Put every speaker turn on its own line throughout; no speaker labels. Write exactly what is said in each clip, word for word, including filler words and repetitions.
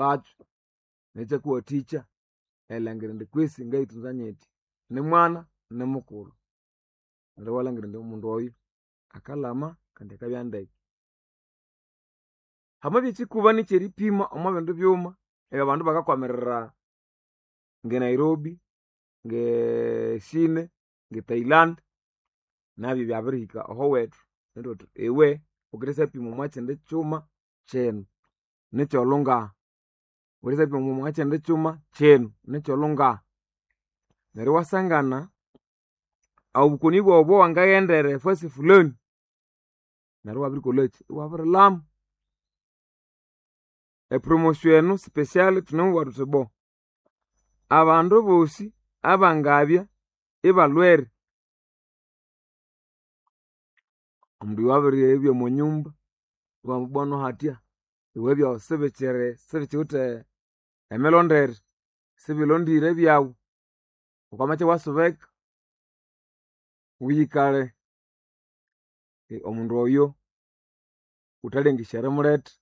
Ekyakatholakyo nekyakuwathikya erilhangira indi kwisi ngayitunza nyiti nimwana nimukulhu neryo iwalhangira indi omundu oyo akalhama kandi akabya ndeke. Hamabya ekyikuba nikyeripima omwa bindi byuma ebyabandu bakakwamirira nge Nairobi, nge Chine, nge Thailand nabyo byabirihika ahowethu neryo thuthi iwe wukendisyapima omwa kyindi kyuma kyinu nikyolhungaha, wukendisyapima omwa kyindi kyuma kyinu nikyolhungaha. Neryo iwasangana obukoni bwawu obwawangaghendera efasi fulani neryo iwabirikolhakyi iwabirilhama. Epromotion enu special thunemubugha thuthi bo abandu bosi abangabya ibalhwere omundu oyo abiribya omwanyumba ibamubwano hatya iwe ebyawu sibikyiri sibikiwithe emilondere sibilondire ebyawu wukamacha iwasubeka wuyikalhe omundu oyo wuthalengesya erimuletha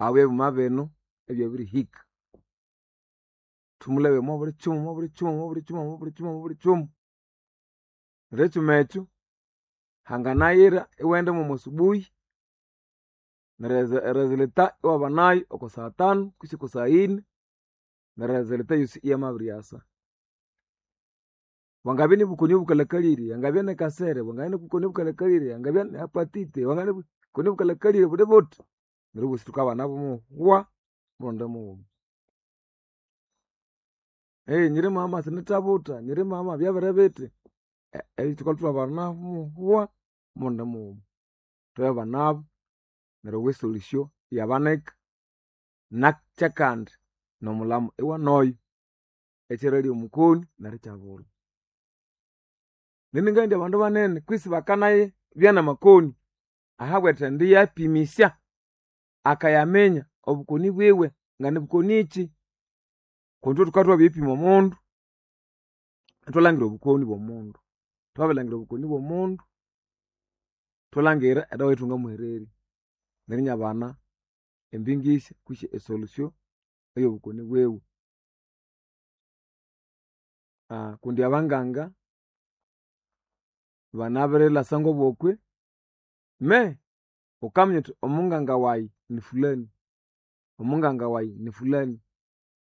ahabwa ebyuma binu ebyabirihika. Thumulebe omwa buli kyuma omwa buli kyuma omwa buli kyuma omwa buli kyuma omwa buli kyuma. Neryo ekyuma ekyo hanganayira iwaghenda mwomwa subuhi neryo eresulta iwabanayo oko saa tanu kwisi oko saa yine neryo eresulta eyosi iyamabiryasa. Bwangabya nibukoni obukalhakalire, angabya nikasere, bwangabya nibukoni obukalhakalire, angabya ni hepatite, bwangabya nibukoni obukalhakalire buli buthi neryo obosi thukabana muhwa murundi mughuma. Nyiri mama sinithabutha, nyiri mama byabere bithi, thukalhwa ithwabana muhwa murundi mughuma. Thwabanabu neryo esolution iyabanika nakyakandi nomulhamo iwanoyo ekyeralya omukoni neryo ikyabulha. Nindi ngabugha indi abandu banene kwisi bakanabya namakoni ahabwa erithendi yapimisya akayaminya obukoni bwiwe nganibukonikyi kundi ithwe thukabya thwabiripima omundu ithwalhangira obukoni bwomundu. Thwabirilhangira obukoni bwomundu ithwalhangira edawa eyathwangamuhererya neryo inabana embingisya kwisi esolution eyobukoni bwiwe. Kundi abanganga banabirilhasa ngobukwi me wukaminya wuthi omunganga wayi ni fulani, omunganga wayi ni fulani,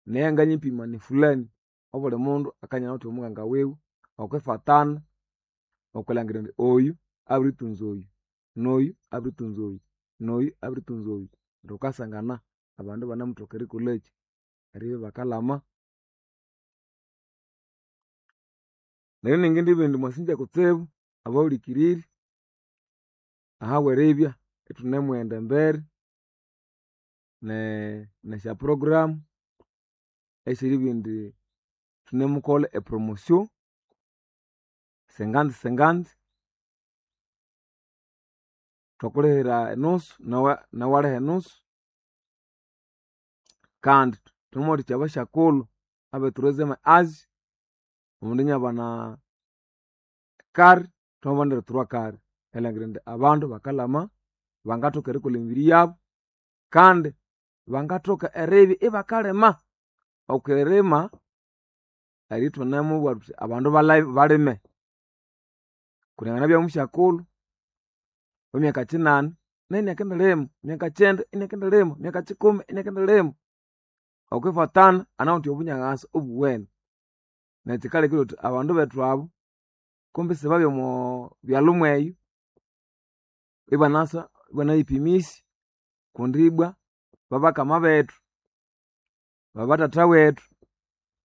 neyanganyipima ni fulani. Obuli mundu akanya awithe omunganga wiwe okwifatana okwilangira indi oyu abiritunza oyu, noyu abiritunza oyu, noyu abiritunza oyu. Neryo wukasangana abandu ibanemuthoka erikolhakyi eribya ibakalhama. Neryo iningindibugha indi mwasingya kutsibu abahulikiriri ahabweribya ithunemughenda embere ne- nesya program esyeribugha indi thunemukolha e promotion senganzi senganzi thwakulihira enusu nawe nawu iwaliha enusu kandi thunemuwathikya abasyakulhu abe troisieme age omundu inabana kare thwamabanira trois kare erilhangira indi abandu bakalhama bangathoka erikolha emibiri yabu kandi bangathoka eribya ibakalima. Okwirima erithunamubugha thuthi abandu balime kundi anganabya musyakulhu wemyaka kyinani nayu inakendilima, myaka kyenda inakendilima, myaka kyikumi inakendilima. Okwifatana anawithe obunyaghasa obuwene. Neryo kyikalekire thuthi abandu bethu abu kumbi isibabya omo byalhu mweyo ibanasa ibanayipimisya kundi ibwa babakama bethu, babathatha wethu,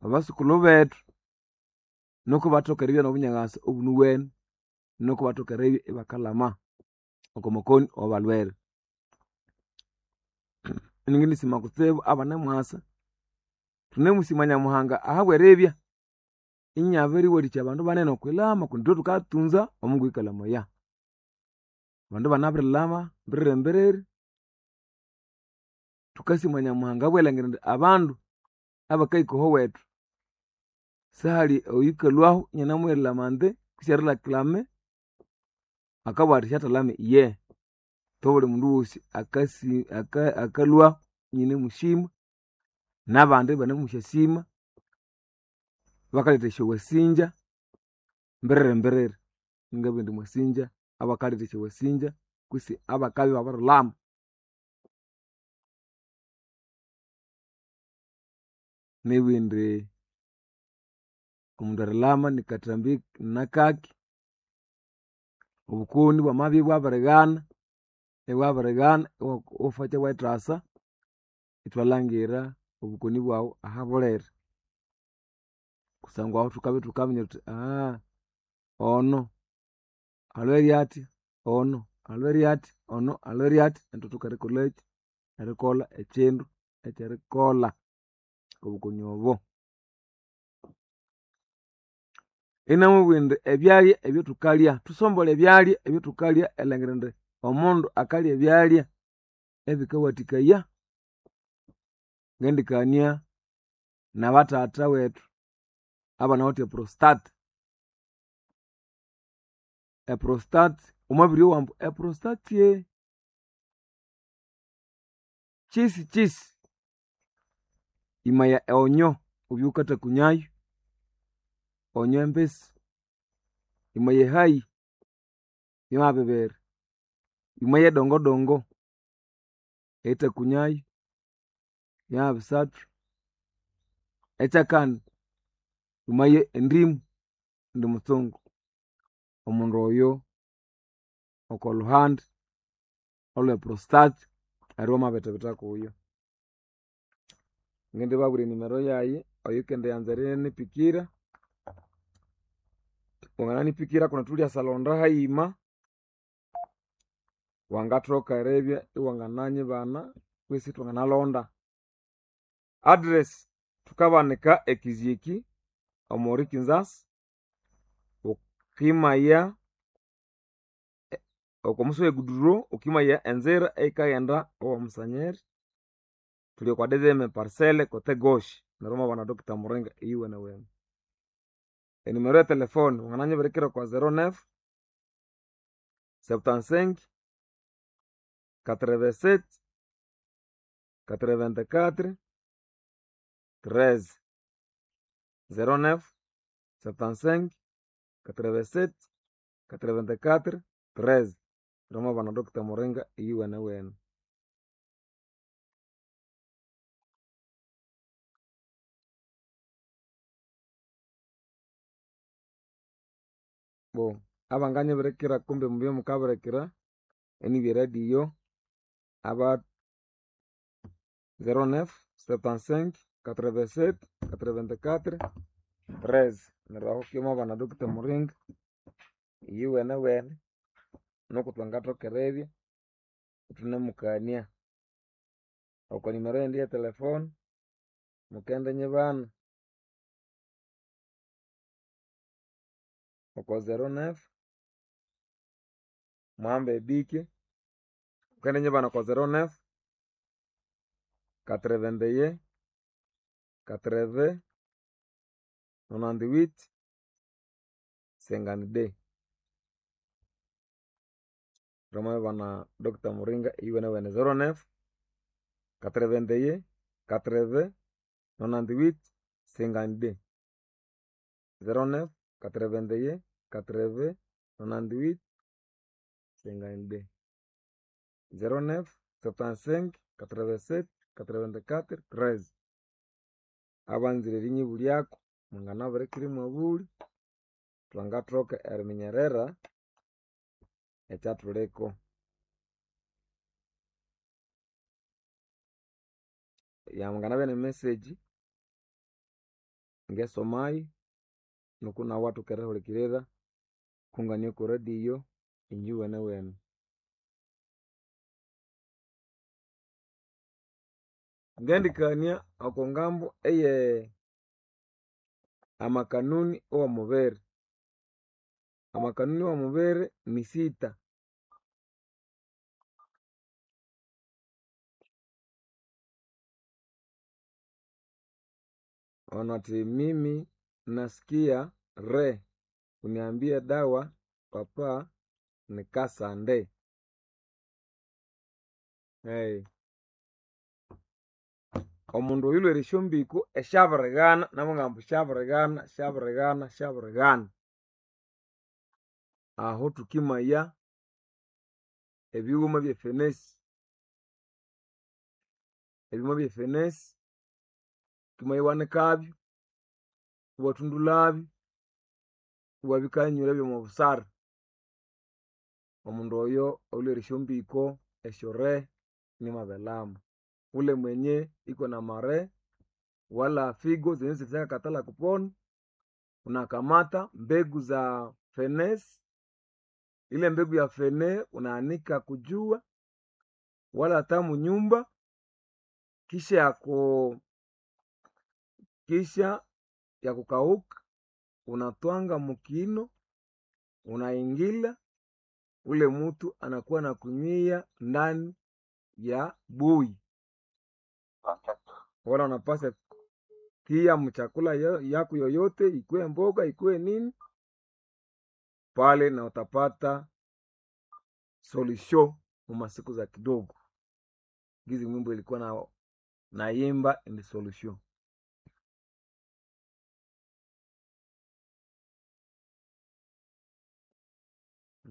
babasukulhu bethu nuku ibathoka eribya nobunyaghasa obunuwene nuku ibathoka eribya ibakalhama oko makoni awabalhwere. Iningindisima kutsibu abanemwasa, thunemusima Nyamuhanga ahabweribya inabiriwathikya abandu banene okwilhama kundi ithwe thukatunza omungu oyukalamaya. Abandu ibanabirilhama mbiriri mbiriri, thukasima Nyamuhanga ahabwerilangira indi abandu abakahika ahowethu sihali oyukalhwahu inanamughirira amande kwisi erireklame akabugha athi syathalhame iye. Thubuli mundu wosi akasi akalhwahu ininemusima. N'abandi ibanemusyasima bakaletha esyowasinja mbiriri mbiriri. Ngabugha indi mwasinja abakaletha esyowasinja kwisi abakabya ibabirilama. Nibugha indi omundu erilama nikathambi nakaki, obukoni bwamabya ibwabirighana, ibwabirighana iwafakya iwayithasa ithwalhangira obukoni bwaghu ahabuliri. Kusangwa ahu thukabya ithukaminya thuthi ono alhwere athya, ono alhwere athya, ono alhwere athya ithwathoka erikolhakyi, erikolha ekyindu ekyerikolha okobukoni obo. Inamubwira indi ebyalya ebyathukalya, thusombolhe ebyalya ebyathukalya erilhangira indi omundu akalya ebyalya ebikawathikaya. Ngendikania nabathatha wethu abanawithe eprostate. Eprostate wamabiryowa ambu eprostate kyisi kyisi imaya eonyo wubye wukathakunyayo, onyo embisi, imaya ehayi yamabibera, imaya edongodongo erithakunyayo yamabisathu, ekyakani imaye endimu indi mutsungu. Omundu oyo okolhuhandi olwe prostate neryo wamabithibitha kuyo. Ngindibabwira enimero yayi oyukendiyanza erinipikira, wangananipikira kundi thulyasalonda hayima, wangathoka eribya iwangananyibana kwisi ithwanganalonda. Address thukabanika ekizyeki omuli Kinzasi, wukimaya okomusi weguduro wukimaya enzira eyikaghenda owamusanyeri, thuli okwa deuxième parcelle kote gauche neryo wamabana Doctor Muringa eyuwenewene. Enimero ye telefone wangananyibirikira okwa zero neuf, septante-cinq, quatre-vingt-sept, quatre-vingt-quatre, treize. Zero neuf, septante-cinq, quatre-vingt-sept, quatre-vingt-quatre, treize. Neryo wamabana Doctor Muringa eyuwenewene. Bo abanganyibirikira kumbe mubye mukabirikira enibya eradio aba zero neuf, septante-cinq, quatre-vingt-sept, quatre-vingt-quatre, treize. Neryo ahu wamabana Doctor Muringa eyuwenewene nuku thwangathoka eribya ithunemukania. Oko nimero yindi ye telefone mukendinyibana oko zero neuf, muhambe ebike, wukendinyibana oko zero neuf, quatre-vingt-un, quatre-vingts, nonante-huit, cinquante-deux. Twamabibana Doctor Muringa eyuwenewene zero neuf, quatre-vingt-un, quatre-vingts, nonante-huit, cinquante-deux. Zero neuf, quatre-vingt-un, quatre-vingts, nonante-huit, cinquante-deux. Zero neuf, septante-cinq, quatre-vingt-sept, quatre-vingt-quatre, treize. Abanzire erinyibulyako mwanganabirikira imwabulya thwangathoka eriminyerera ekyathuliko. Yanganabya ne message ngesomayo nuku nawu iwathoka erihulikirira kungani oko radio inje wenewene. Ngendikania okongambu eye amakanuni owomubiri. Amakanuni owomubiri nisita. Ono athi mimi nasikia re uniambie dawa papa nikasande. Hey. Omundu oyulhwere esyombĩko esyabirighana, nabughambu ambu syabirighana, syabirighana, syabirighana. Aho thukimaya ebighuma ebyefenesi. Ebighuma ebyefenesi wukimaya iwanikabyo, iwathundulhabyo, iwabikanyura byomobusara. Omundu oyo oyulhwere esyombĩko esyorehe nimwabelama. Ule mwenye iko na mare wala figo zenye zirishakathalha kupona, unakamata mbegu za fenesi, ile mbegu ya fene unaanika kujua wala hata munyumba, kisha yaku kisha yakukauka unatwanga mukino unaingila ule mutu anakuwa na kunywia ndani ya bui wala unapasa tia mchakula yako yoyote ikuwe mboga ikuwe nini pale, na utapata solution mumasiku za kidogo. Gizi mwimbo ilikuwa na naimba ni solution.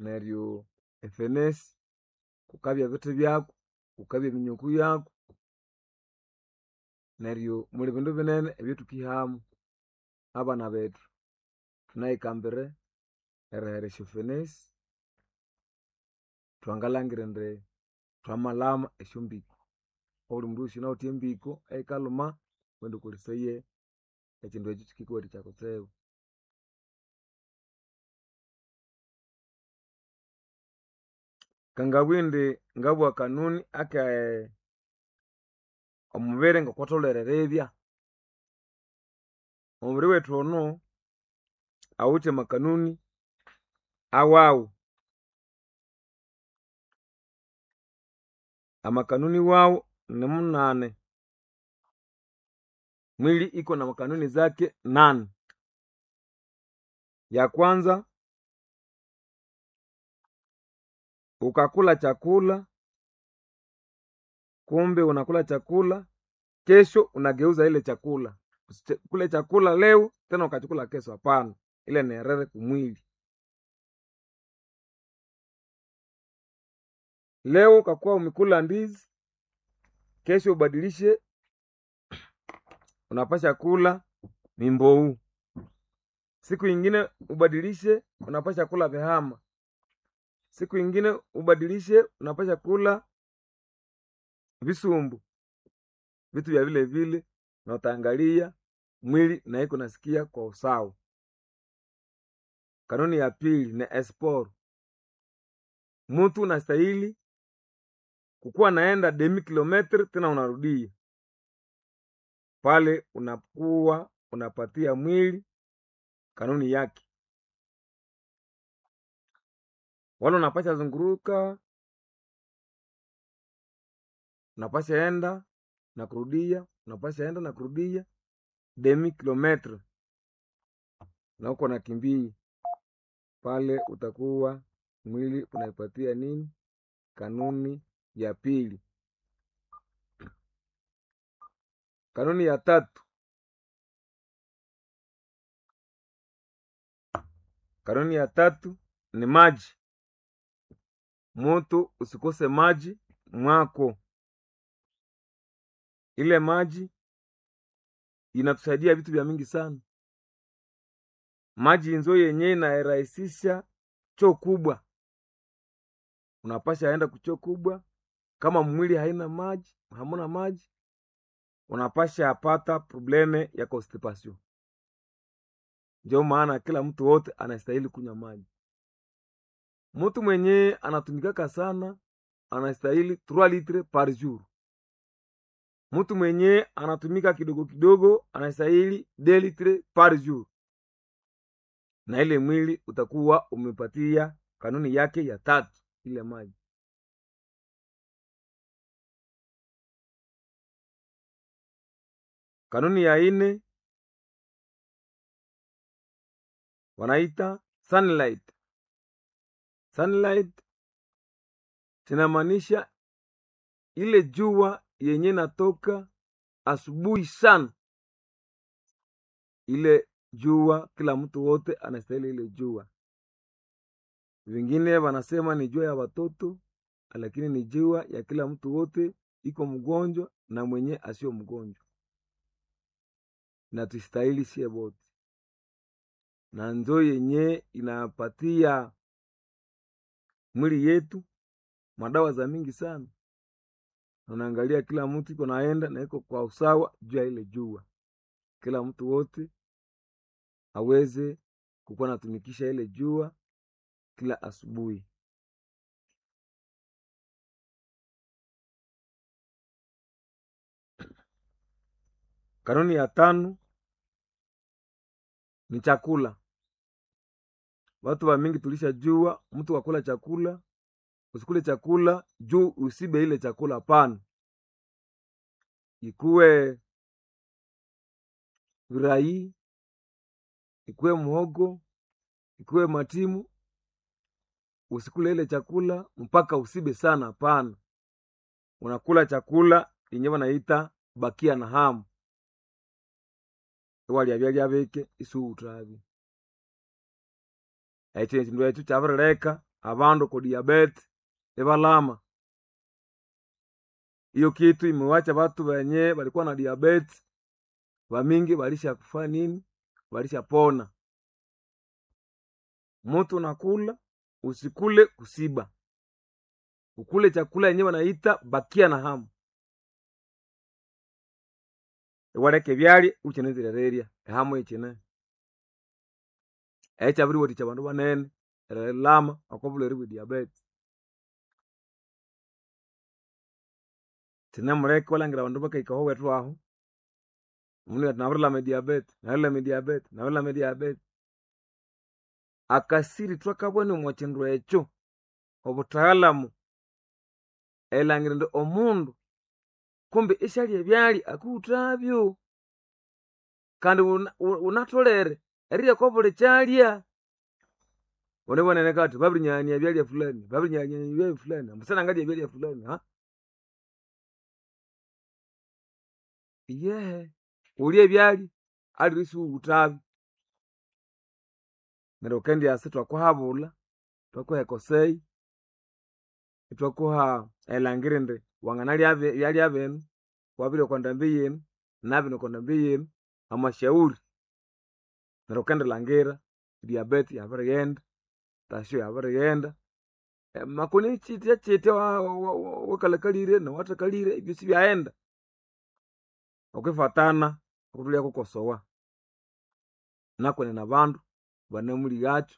Neryo efenesi kukabya ebithi byaku, kukabya eminyuku yaku, neryo muli bindu binene ebyathukihamu. Abana bethu thunayikambire erihera esyofenesi, thwangalhangira indi thwamalhama esyombiko. Obuli mundu wosi oyunawithe embiko eyikalhuma wukaghenda wukolesaye ekyindu ekyo kyikikuwathikya kutsibu. Ngangabugha indi ngabugha kanuni ake omubiri ngokwatholere eribya. Omubiri wethu ono awithe amakanuni awawu. Amakanuni wawu nimunane. Mwili iko na makanuni zake nane. Ya kwanza ukakula chakula kumbe unakula chakula kesho unageuza ile chakula. Usikule chakula leo tena ukachukula kesho, hapana, ile ni erere kumwili. Leo ukakuwa umekula ndizi, kesho ubadilishe, unapasha kula mimbou. Siku ingine ubadilishe, unapasha kula vihama. Siku ingine ubadilishe, unapasha kula visumbu, vitu vya vile vile, na utaangalia mwili na iko nasikia kwa usawa. Kanuni ya pili ni esporo. Mutu unastahili kukuwa naenda demi kilometre tena unarudia pale, unakuwa unapatia mwili kanuni yake, wala unapasha zunguruka, unapasha enda na kurudia, unapasha enda na kurudia demi kilometre, na uko nakimbia pale, utakuwa mwili unaipatia nini kanuni ya pili. Kanuni ya tatu, kanuni ya tatu ni maji. Mutu usikose maji mwako. Ile maji inatusaidia vitu vya mingi sana. Maji inzo yenyewe inarahisisha choo kubwa, unapasha enda kuchoo kubwa. Kama mwili haina maji, hamuna maji, unapasha apata probleme ya constipation. Ndio maana kila mtu wote anastahili kunywa maji. Mtu mwenye anatumikaka sana anastahili trois litres par jour. Mtu mwenye anatumika kidogo kidogo anastahili deux litres par jour, na ile mwili utakuwa umepatia kanuni yake ya tatu, ile maji. Kanuni ya ine wanaita sunlight. Sunlight inamaanisha ile jua yenye natoka asubuhi sana, ile jua kila mtu wote anastahili ile jua. Vingine wanasema ni jua ya watoto, lakini ni jua ya kila mtu wote, iko mgonjwa na mwenye asio mgonjwa, na tustahili sie bote, na nzo yenye inapatia mwili yetu madawa za mingi sana. Unaangalia kila mtu iko naenda na iko kwa usawa juu ya ile jua, kila mtu wote aweze kukuwa natumikisha ile jua kila asubuhi. Kanuni ya tano ni chakula. Watu wa mingi tulishajua mtu wakula chakula, usikule chakula juu usibe ile chakula, hapana. Ikuwe virai, ikuwe muhogo, ikuwe matimu, usikule ile chakula mpaka usibe sana, hapana. Unakula chakula yenye wanaita bakia na hamu iwalya byalya bike isuwuthabya. Ekyo ekindu ekyo kyabirileka abandu oko diabete ibalama. Iyo kitu imiwacha batu benye balikuwa na diabete bamingi balishakufa nini, balishapona. Mutu nakula usikule kusiba, ukule chakula yenye wanaita bakia na hamu, iwaleka ebyalya ukyinenzirererya ehamu ikyine. Ekyabiriwathikya abandu banene erilama oko bulhwere bwe diabete. Kyinemuleka iwalhangira abandu bakahika ahowethu ahu, omundu athi nabirilama ediabete, nabirilama ediabete, nabirilama ediabete. Akasiri thwakabana omwa kindu ekyo, obuthagalamu erilhangira indi omundu kumbe isyalya ebyalya akiwuthabyo kandi wunatholere erirya okwa buli kyalya. Wunibonene kathi babirinyaghania ebyalya fulani, babirinyaghania ebyalya fulani, ambu sinangalya ebyalya fulani haa. Iyehe, wulye ebyalya aliwe isiwuwuthabyo. Neryo wukendyasa ithwakuhabulha, ithwakuha ekosei, ithwakuha erilhangira indi wanganalya ebyalya binu, wabirya okwa ndambi yinu, nabinu okwa ndambi yinu, amasyauri. Neryo wukendilhangira diabete yabirighenda, tasyo yabirighenda, makoni kyitya kyitya wakalhakalire nowathakalire ebyosi ibyaghenda okwifatana okuthulyakakosowa. Nakwenene abandu banamulighakyo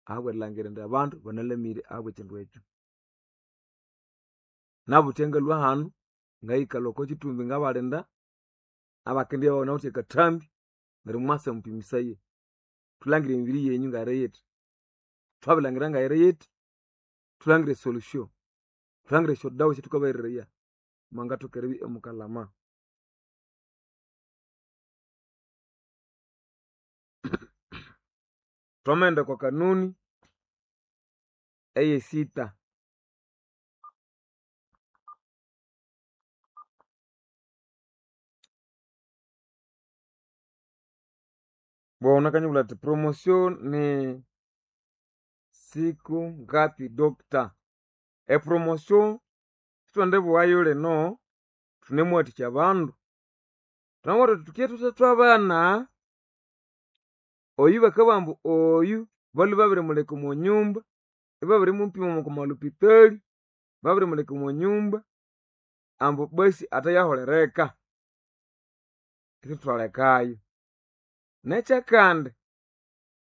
ahabw'erilhangira indi abandu banalhamire ahabw'ekindu ekyo. Nabuthya ngalhwa hanu ngayikalha oko kithumbi ngabalinda abakendibya banawithe akathambi neryo mwasa mupimisaye thulhangire emibiri yenyu ngayiri yithi, thwabirilhangira ngayiri yithi, thulhangire esolution, thulhangire esyodawa esyathukabahereraya mwangathoka eribya imukalhama. Thwamaghenda okwa kanuni eyesitha. Bwana athi promotion ni siku ngapi doctor? Epromotion sithwendibughayo lino thunemuwathikya abandu. Thunamubwira thuthi thukiye thuthe thwabana, oyu bakabugha ambu oyu balhwe babirimuleka omo nyumba, ibabirimupima oko malhopitali, babirimuleka omo nyumba ambu basi athayaholereka. Ithwathwalekayo. Nekyakandi,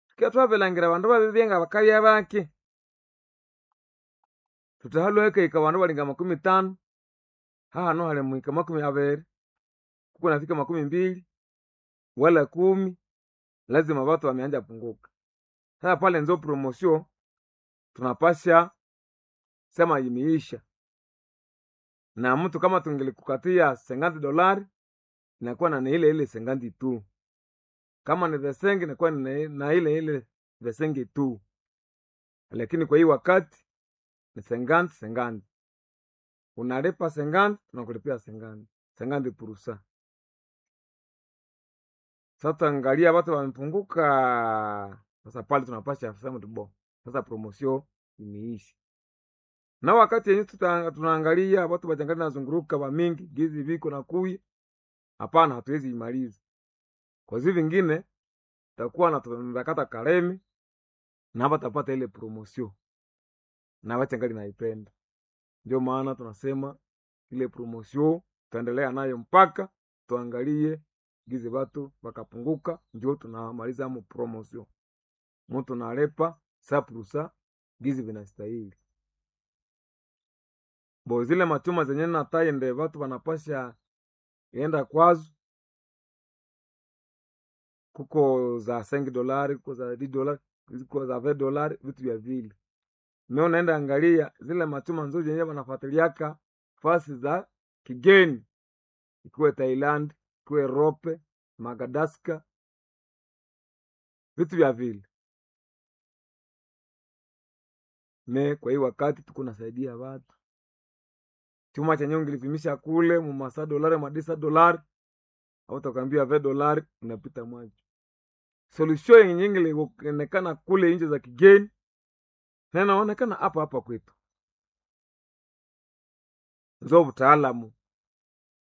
thukibya thwabirilhangira abandu ibabibya ngabakabya baki, thuthi halhwe hakahika abandu abalinga makumi ithanu, hahanu hali muhika makumi abiri, kukunafika makumi mbili wala kumi, lazima batu wameanza punguka. Sasa pale nzo promotion tunapasha sema imeisha, na mtu kama tungelikukatia senganti dolari inakuwa na ile ile senganti tu, kama ni vesengi inakuwa ni na ile ile vesengi tu, lakini kwa hii wakati ni senganti senganti, unalipa senganti tunakulipia senganti senganti purusa. Sasa angalia watu wamepunguka. Sasa pale tunapasha sema tu bon, sasa promotion imeisha. Na wakati yenye tuta- tunaangalia watu wachangali nazunguruka wa mingi gizi viko na kuya, hapana, hatuwezi imaliza. Kwa hizo vingine takuwa na tunakata kalemi na hapa tapata ile promotion na wachangali naipenda. Ndio maana tunasema ile promotion tutaendelea nayo mpaka tuangalie gizi watu wakapunguka, ndio tunamaliza mu promotion. Mtu nalepa saprusa gizi vinastahili bo zile machuma zenye nataye nde watu wanapasha enda kwazo, kuko za sengi dolari, kuko za di dolari, kuko za ve dolari, vitu vya vile. Mimi unaenda angalia zile machuma nzuri zenye wanafuatiliaka fasi za kigeni, ikiwe Thailand, ikiwe Europe, Madagascar, vitu vya vile. Me kwa hii wakati tuko nasaidia watu chuma chenye ungilipimisha kule mumasa dolari madisa dolari au utakwambia ve dolari unapita mwacho. Solution yenye ingilionekana kule nje za kigeni na inaonekana hapa hapa kwetu. Nzo utaalamu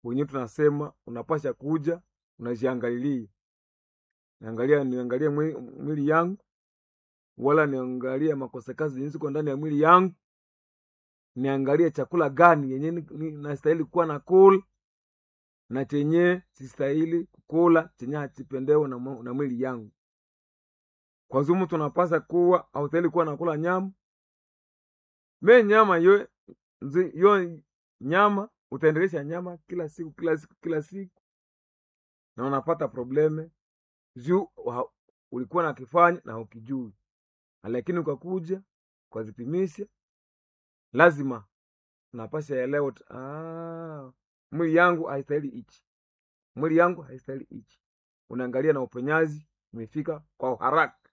wenyewe tunasema unapasha kuja unajiangalilia, niangalia niangalie mwi- mwili yangu wala niangalie makosa kazi zenye ziko ndani ya mwili yangu, niangalie chakula gani yenye ni- ni- nastahili kuwa na kula na chenye sistahili kukula chenye hachipendewe na, mwa- na mwili yangu. Kwa zumu tunapasa kuwa haustahili kuwa nakula nyama me nyama yo, nzi- yo nyama utaendelesha nyama kila siku kila siku kila siku na unapata probleme juu wa- ulikuwa nakifanya na ukijui, lakini ukakuja ukazipimisha, lazima unapasha elewa tu, ah, mwili yangu haistahili hichi, mwili yangu haistahili hichi. Unaangalia na uponyaji umefika kwa haraka.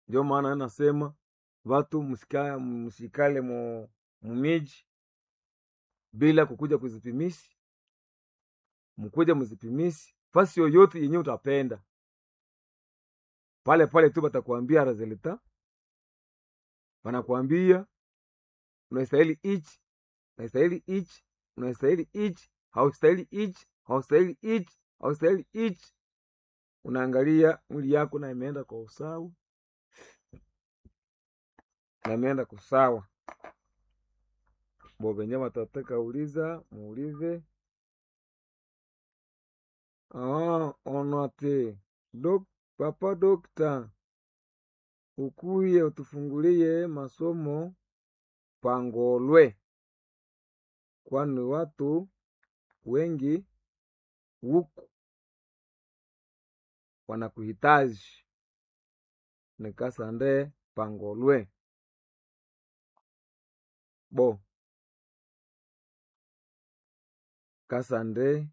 Ndio maana nasema watu msika, msikale mu mumiji bila kukuja kuzipimisha, mkuja mzipimishi fasi yoyote yenye utapenda pale pale tu batakuambia resulta, wanakuambia unastahili hichi, unastahili hichi, unastahili hichi, haustahili hichi, haustahili hichi, haustahili hichi. Unaangalia mwili yako na imeenda kwa usawa na imeenda kusawa. Bo venye watataka uliza muulize. Ah, onate dok, papa dokta ukuye utufungulie masomo pangolwe, kwani watu wengi huku wanakuhitaji. Nikasande pangolwe bo kasande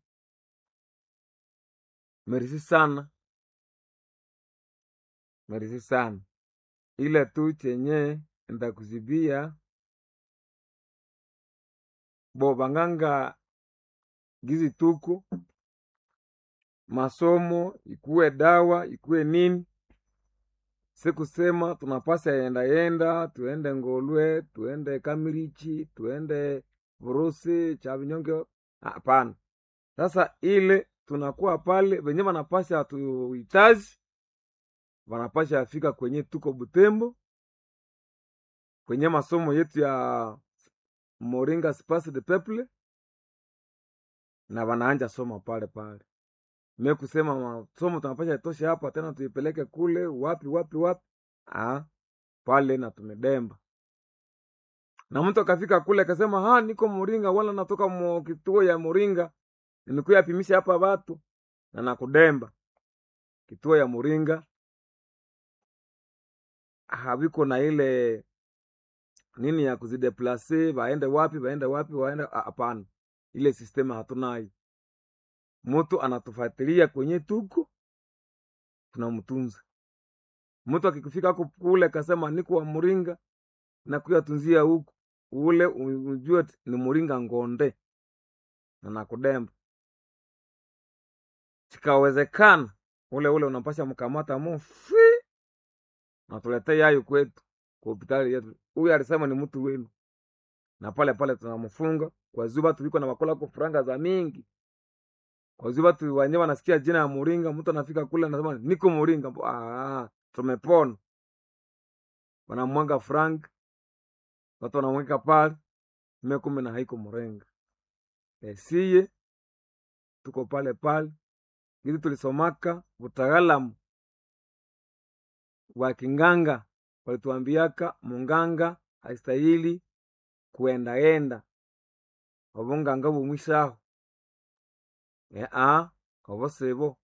merisi sana merisi sana ila tu chenye ndakuzibia bo banganga gizi tuku masomo ikuwe dawa ikuwe nini, sikusema tunapasa yenda yenda tuende Ngolwe tuende Kamirichi tuende Vurusi Chavinyonge, hapana. Sasa ile tunakuwa pale venye wanapasha tuhitaji, wanapasha afika kwenye tuko Butembo kwenye masomo yetu ya Moringa Space de Peuple na wanaanja soma pale pale. Me kusema masomo tunapasha itoshe hapa tena tuipeleke kule wapi wapi wapi, ah, pale na tumedemba. Na mtu akafika kule akasema ha, niko Moringa wala natoka mo kituo ya Moringa nimekuya pimisha hapa watu na nakudemba kituo ya Moringa haviko na ile nini ya kuzideplase waende wapi waende wapi waende hapana, ile sistema hatunayo. Mtu anatufuatilia kwenye tuko tunamtunza. Mtu akikufika huko kule akasema niko wa Muringa na kuyatunzia huku ule ujue ni Muringa ngonde na nakudemba. Chikawezekana ule ule unapasha mkamata mufi na tulete yayo kwetu kwa hospitali yetu. Huyu alisema ni mtu wenu, na pale pale tunamfunga kwa zuba tuliko na wakola kufuranga za mingi kwa zuba tu wenyewe wanasikia jina ya Muringa, mtu anafika kule anasema niko Muringa. Ah, tumepona. Wanamwanga frank, watu wanamweka pale mekume na haiko Muringa. E, siye tuko pale pale ili tulisomaka utaalamu wa kinganga, walituambiaka munganga haistahili kuendaenda obunganga bumwisaho ea obo sibo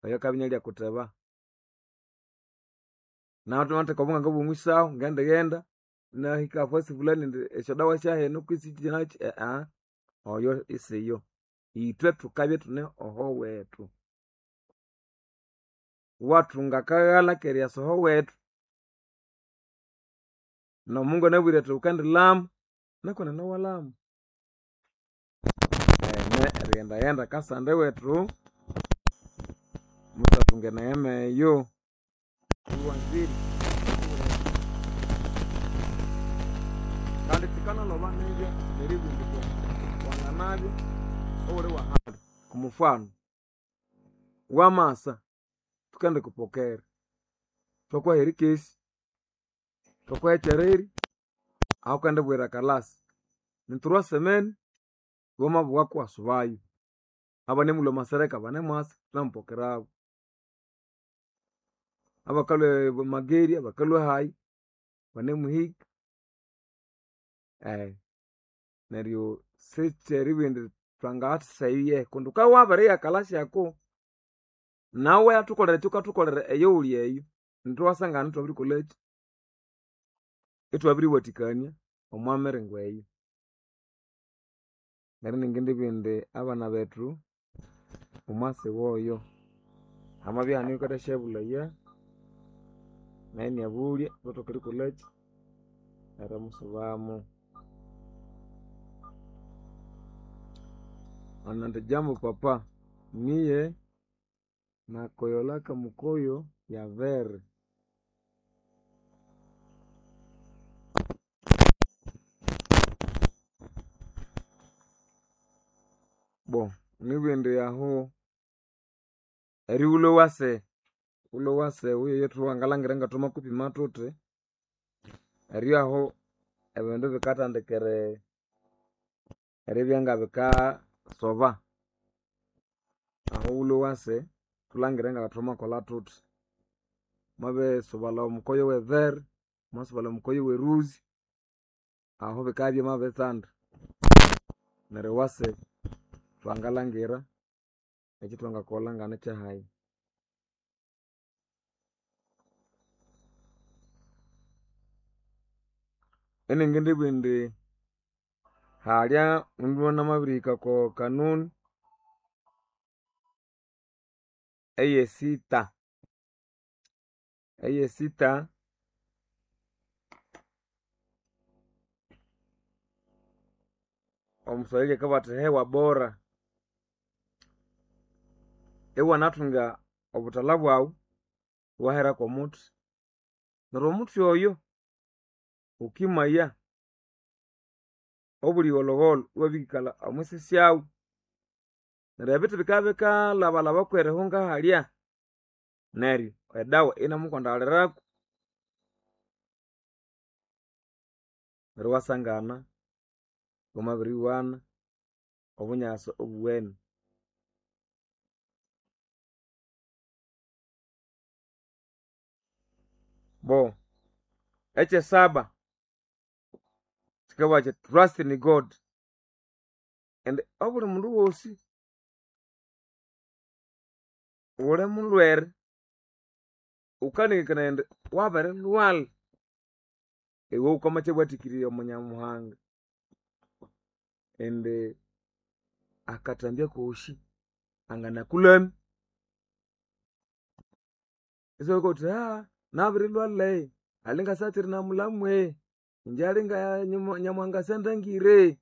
oyo kabinya kuteba nawe obunganga bumwisaho ngendighenda nahika fasi fulani ndi esyodawa syahenu kwisi kinaki ea oyo isiyo itwe thukabya ithune oho wethu wathunga akaghalha k'eryasa oho wethu n'omungu anabwire athi wukandilama nakonene walama ene erighendaghenda kasande wethu muthathunga eneema eyo iwanzire kandi thikanalhoba nibya neribundikwa wanganabya owuli wahali kumufano wamasa thukendikupokera thwakuha erikesi thwakuha ekyereri ahu wukendibwira kalasi nithurwa semeni wamabughaku wasubayo abanimulhwa amasereka banemwasa thunemupokerabu abakalhwa mageri abakalhwa hayi banemuhika eh neryo sikyeribugha indi thwangathasyaye kundi wukabya wabiriya kalasi ako nawe yathukolera ekyawukathukolera eyo wuli eyo ithwasangana ithwabirikolhaki ithwabiriwathikania omwa miringo eyo neryo ningindibugha indi abana bethu omwasi woyo hamabya ihane oyukathasyabulhaya nayu inabulya ithwathoka erikolhaki erimusubamu. Anandi jambo papa miye nakoyolaka mukoyo ya vere bo nibugha indi ahu erighulha owase ghulha owase wuyoyo thuwangalhangira ngathwamakupima thuthi eryo ahu ebindu bikathandika eri eribya ngabikasoba ahu ghulhwe owase thulhangire ngathwamakolha thuthi mwabisubalha omukoyo wevere mwasubalha omukoyo weruzi ahu bikabya byamabitsanda neryo owase thwangalhangira ekyithwangakolha nganekyahayi. Iningindibugha indi halya mundu namabirihika oko kanuni eyesita eyesita omuswahili akabugha athi hewa bora iwanathunga obuthalha bwaghu iwahera kwomuthi neryo omuthi oyo wukimaya obuli gholhogholho iwabikalha omwisi syawu neryo ebithi bikabya bikalhabalhaba kwerihunga halya neryo edawa inamukwandaliraku neryo iwasangana wamabiriwana obunyasi obuwene. Bo ekyesaba kikabugha kyithi trust in God indi obuli mundu wosi wuli mulhwere wukanengekanaya indi wabirilhwalha iwe wukamakyawathikirya omunyamuhanga indi akathambya kosi anganakulhamya isiwabya wuthi nabirilhwalha alinga sakyiri namulhamu inje alinga nyamuhanga syandangire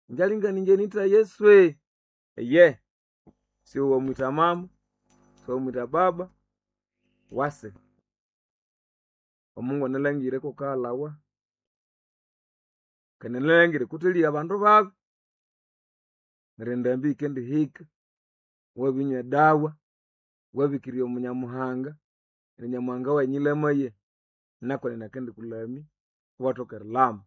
inje alinga ninje nitha Yesu iye. Siwamwita mama, siwamwita baba, wase. Omungu analangire kukahalawa kandi analangire kuthelia abandu babi. Neryo endambi yikendihika, wabinywa edawa, wabikirirya omunyamuhanga, neryo nyamuhanga wayi nyilamaye nakwenene akendikulamya iwathoka erilama.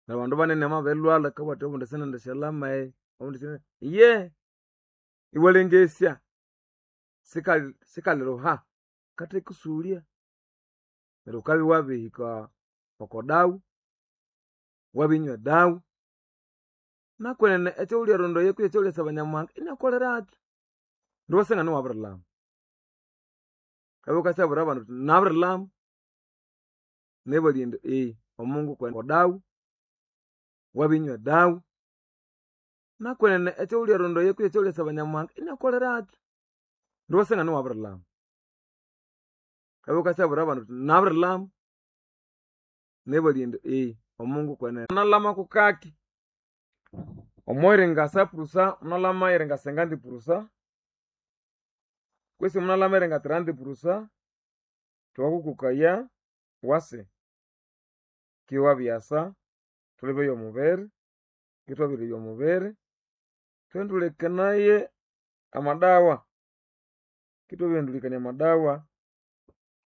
Neryo abandu banene bamabirilhwalha bakabugha bathi obundi sinendisyalyama obundi sine iye iwalengesya sikali sikaliruha kathekusulya. Neryo wukabya wabirihika oko dawa, wabinywa edawa, nakwenene ekyawulhyarondaya kwihi ekyawulyasaba nyamuhanga inyakukolerakyu. Neryo iwasangana iwabirilama. Wukabya wukasyabwira abandu wuthi nabirilama, nebalya indi omungu dawa, wabinywa edawa, nakwenene ekyawulyarondaya kwihi ekyawulyasaba nyamuhanga inyakukolerakyu. Neryo iwasangana iwabirilama. Wukabya wukasyabwira abandu wuthi nabirilama, nebalya indi omungu kwenene nalama kukaki. Omo ringa sapurusa munalama eringa senganti purusa kwesi munalama eringa tiranti purusa, thwakukokaya wase kiwabyasa thulebe omubiri, kithwabiryoya omubiri, thwendulikanaye amadawa, kithwabirihendulikania amadawa,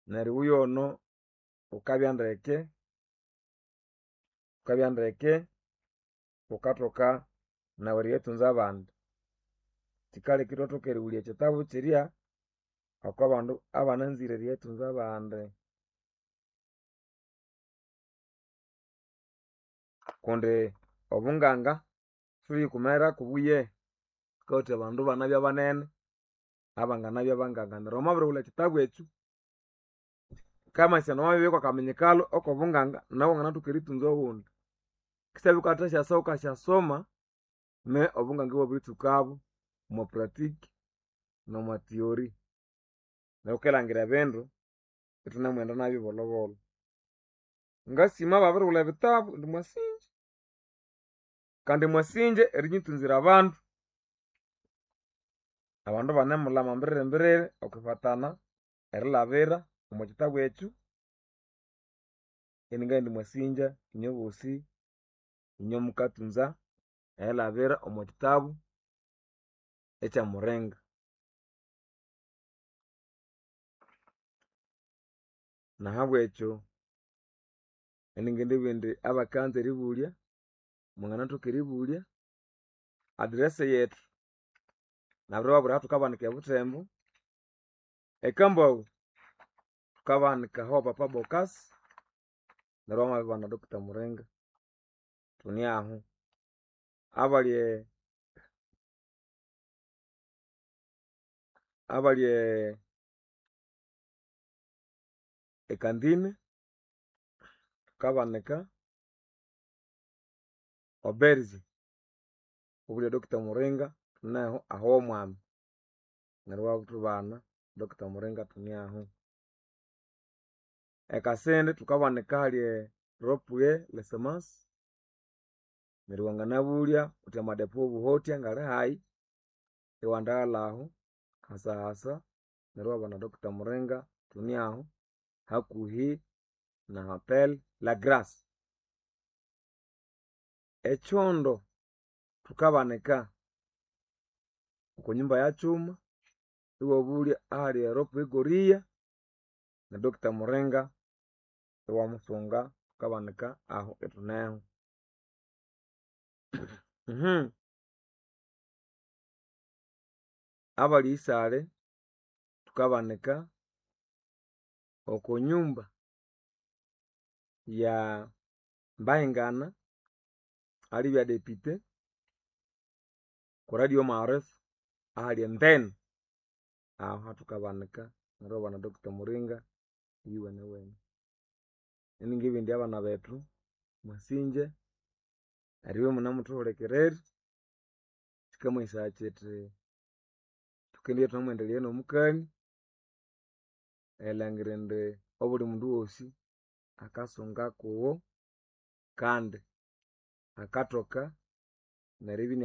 neryo iwuyono wukabya ndeke, wukabya ndeke, wukathoka nawu eriyathunza abandi. Kyikaleka ithwathoka erighulya ekyitabu kyirya oko bandu abananzire eriyathunza abandi. Kundi obunganga sithuliyikumerako kubuye, thukawa thuthi abandu banabya banene abanganabya banganga neryo wamabirighulha ekyitabu ekyo, kamaghesana wamabibya kwakaminyikalo okobunganga nawu wanganathoka erithunza owundi. Kisyabya wukathasyasa wukasyasoma ne obunganga ibwabiritsukabo omwa pratique nomwa theory. Neryo wukilangira ebindu ithunemughenda nabyo bolhobolho. Ngasima ababirighulha ebitabu indi mwasinja kandi mwasinja erinyithunzira abandu. Abandu banemulama mbiriri mbiriri okwifatana erilabira omwa kyitabu ekyo, iningabugha indi mwasinja inywe bosi inywe mukathunza erilabira omwa kyitabu ekyamuringa. Nahabwekyo iningindibugha indi abakanza eribulya, mwanganathoka eribulya. Address yethu nabiribabwira ahathukabanika ebuthembo, ekambaghu thukabanika aho papa Bokasi neryo wamabibana Doctor Muringa thune aho. Abali abali ekandine thukabanika oberge wabulya Doctor Muringa thuneho aho womwami neryo iwathubana Doctor Muringa thune aho. Ekasindi thukabanika ahali ropue lesemasi neryo wanganabulya wuthi amadepo wobuhotya ngali hayi, iwandaghalha aho hasahasa neryo iwabana Doctor Muringa thune aho hakuhi na hotel la grace. Ekyondo thukabanika oko nyumba ya kyuma iwabulya ahali eropue goria ne Doctor Muringa iwamusunga thukabanika aho ithuneho. Abali isale thukabanika oko nyumba ya Mbahingana alibya depute ku radio maarifa ahali entene aho hathukabanika neryo iwabana Doctor Muringa iyuwenewene. Iningibugha indi abana bethu mwasinja eribya imunemuthuhulikirira, kyikamanyisaya kyithi thukendibya ithunemwendelea nomukania erilhangira indi obuli mundu wosi akasunga kuwo kandi akathoka neribya inia.